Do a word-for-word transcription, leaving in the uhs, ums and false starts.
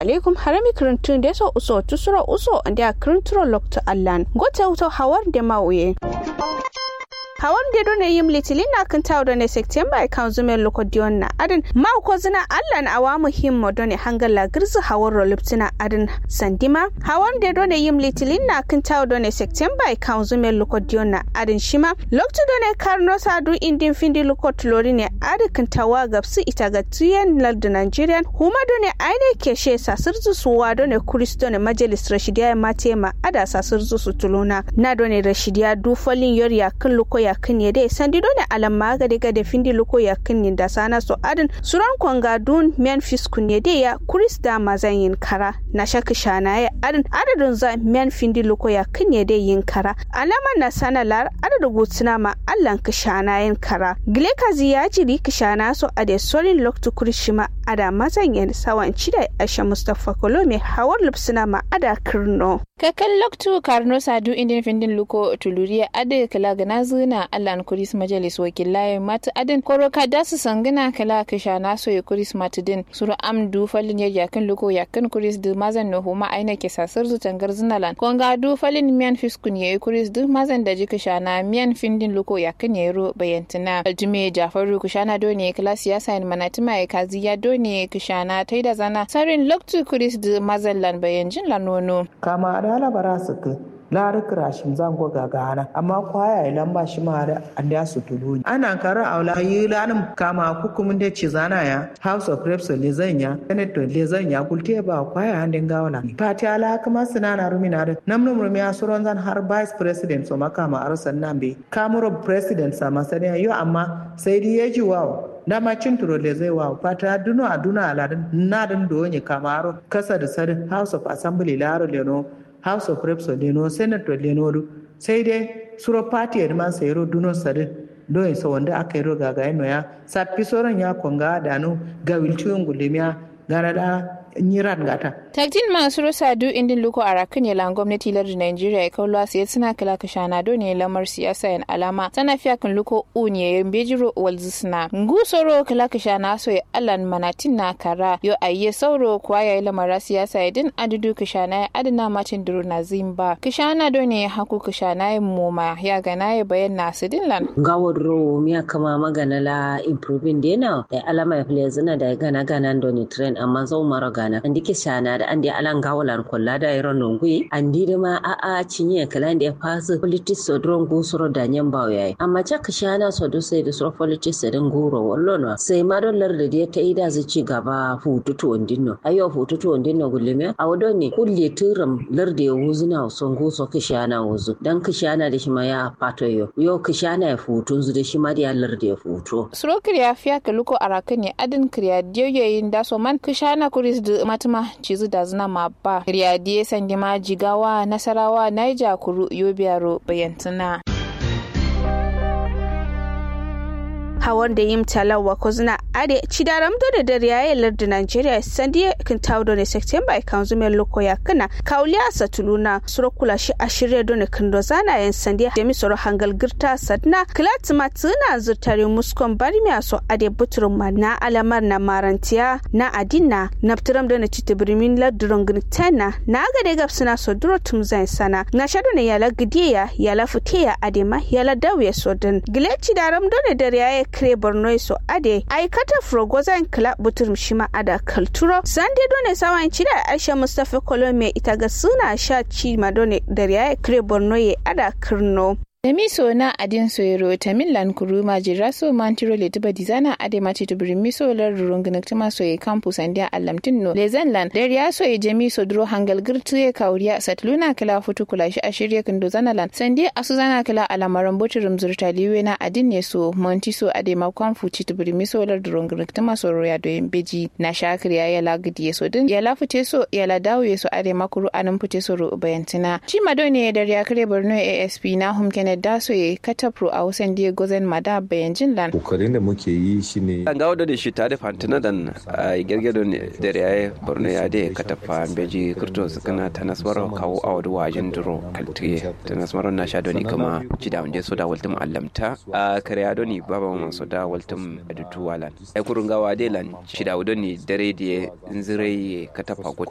Alaikum harami kǝrǝntǝ nde so uso tusuro uso nde a kǝrǝntǝro loktu allan gote wuto hawar nde ma wuye. Hawar nde done yim litilin na kǝntawo done september e kanzume luko diyon na adin ma uko zina allan awa muhimmo done hangal la gǝrzǝ hawar ro luptuna adin sandima. Hawar nde done yim litilin na kǝntawo done september e kanzume luko diyon na adin shima loktu done karno sadu indin findi luko tulori ne adi kǝntawa gabsǝ ita ga tuyen lardu nigerian huma done aine keshe sasǝrzu suwa done kuris done majalis rashidiya matema ada sasǝrzu sutuluna. Na done rashidiya du falin yor yakkǝn luko yakkǝn yede sandi done alamma gade gade findi luko yakkǝn ninda sana so adin suron konga dun miyan fiskun yede ya kuris da mazan yin kara. Na sha kǝshana ye adin adadun za miyan findi luko yakkǝn yede yin kara. Alama na sana lar adadu gutsuna ma allan kǝshana yin kara gile kazi ya jiri kǝshana so ade sorin loktu kurishima ada mazan yin sawan cidai aisha mustapha kolome hawar lupsuna ma ada kǝrno. Kakal loktu karno sadu indin findin luko tuluriya adi kǝla gǝnazǝ na allan kuris majalis wakillaye matǝ adin koro kadasǝ sangǝna kǝla kǝshana soye kuris matǝ din suro am du falin yar yakkǝn luko yakkǝn kuris dǝ mazan no huma aina kesa sǝrzu tangarzǝna lan konga du falin miyan fiskun yayi kuris dǝ mazan daji kǝshana miyan findin luko yakkǝn yayiro bayantǝna altime jafaru kǝshana done kǝla siyasa yin manatǝma ye kaziya done kǝshana taida zana sarin loktu kuris dǝ mazan lan bayanjin lan wono. Kama adǝ ala bara sǝkkǝ. Larǝ kǝrashim zango gagana amma kwaya ye lamba shima adǝ andiya sutulu ni ana karǝ aula yǝ lanǝm kama kukkumun de cizana ya house of reps lezan ya senate lezan ya gulte ba kwaya ande ngawo lan fatiya la kǝma sǝnana rumin adǝ namnum rumiya suronzan har vice president so ma kama arǝ sannan be kamuro president sama saniya yo amma sai dǝ yeji wawo dama cinturo lezai wawo fatiya duno a duno aladǝn nadǝn dowonye kama aro kasa dǝ sadǝ house of assembly la aro leno house of reps o leno senate o leno du sai dai suro party adǝ man sayiro duno sadǝ doyin sawandǝ aka yiro gagayin noya sappi soron ya konga danu gawil cuyin gullimiya gana da nyiran gata. Taktin ma suro sadu indin luko arakkǝn ye lan gomnati lardu nigeria ye kauluwa sayedsǝna kǝla kǝshana done lamar siyasa yen alama sana fiyakkǝn luko un ye mbejiro walzǝsǝna ngu soro kǝla kǝshana so ye allan manatin na kara yo aiye sauro kuwa yayi lamara siyasa ye dǝn adǝ du kǝshana ye adǝ na matin duro nazǝyin ba kǝshana done haku kǝshana ye moma ya gana ye bayan na sǝdin lan. Ngawo duro wumiya kǝma magana la improving de na dayi alama ye fǝlezǝna dayi gana gana done train amma zaumaro gana andi kǝshana dǝ andi ala ngawo lan kolla dayi ro nonguyi andi dǝma a'a cinye kǝla nde fasǝ politics so duro ngu suro danyen bawo yayi amma ca kǝshana so dǝ sai dǝ suro politics so dǝ nguro wallono sai ma do lardǝ de taidazǝ cigaba futu tuwandinno ayyo futu tuwandinno gullimiya awo done kulle tǝram lardǝ ye wuzǝna so ngu so kǝshana wuzǝ dan kǝshana dǝ shima ya fatoyo yo kǝshana ye futunzǝ dǝ shima dǝ ya lardǝ ye futuwo. Suro kǝriya fiya kǝluko arakkǝn ye adǝn kǝriya diyo ye yin daso man kǝshana kuris dǝ matǝma cizǝ dazǝna ma ba kǝriya diye sandima jigawa nasarawa naija kuru yobiya ro bayantǝna. Hawar da yim talawa kozuna ade cidaram done dariya ye lardǝ nigeria sandiye kǝntawo done september ye kanzume loko yakkǝna kawuliya satuluna suro kula shi ashirye done kǝndo zana yen sandiye jami soro hangal gǝrta sadǝna kǝla tǝma tǝna zǝrtari muskon barmiya so ade buturum ma na alamar na marantiya na adinna naptǝram done citibǝrimin lardǝ rongǝnǝktayin na na gade gabsǝna so duro tǝmzayin sana nasha done yala gǝdiye ya yala fǝte ya adema yala dauye so dǝn gǝle cidaram done dariya ye kǝre borno ye so ade ai kataf rogozayin kǝla buturum shima ada kalturo sande done sawayin cida aisha mustapha kolome ita ga suna sha cima done dariya ye kǝre borno ye ada kǝrno. Tami so na adin so yero tamin lan kuru majira so mantiro leti badizana ade mati tubrin miso lar rurun giniktuma so ye kampu sandiya allamtin no lezan lan dariya so ye jami so duro hangal girtu ye kawuriya satluna kala futu kula shi ashirye kindo zana lan sandiya asu zana kala alamaran buturum zurta liwe na adin ne so manti so ade ma kampu ci tubrin miso lar rurun giniktuma so roya doyin beji na shakir ya yala gidi ye so din yala fute so yala dawo ye so ade ma kuru anin fute so ro bayantina ci ma done dariya kare borno asp na hum kennedy Daso ye katafro awo sandi ye gozen ma da bayanjin lan. Kokarin da muke yi shine. Ngawo done shitta dǝ fantǝna dan. Gerge done dare yaye borno yaye dǝ ye kataffa mbeji kǝrto sǝkkǝna tanas maro kawu awo dǝ wajin duro kaltǝ ye. Tanas maro nasha done kǝma cidawun de so da waltǝm allamta. Kare ya done baba maman so da waltǝm. Dǝ tuwa lan. Ai kuru ngawo ade lan cidawu done dare dǝ ye nzǝrai ye kataffa gote.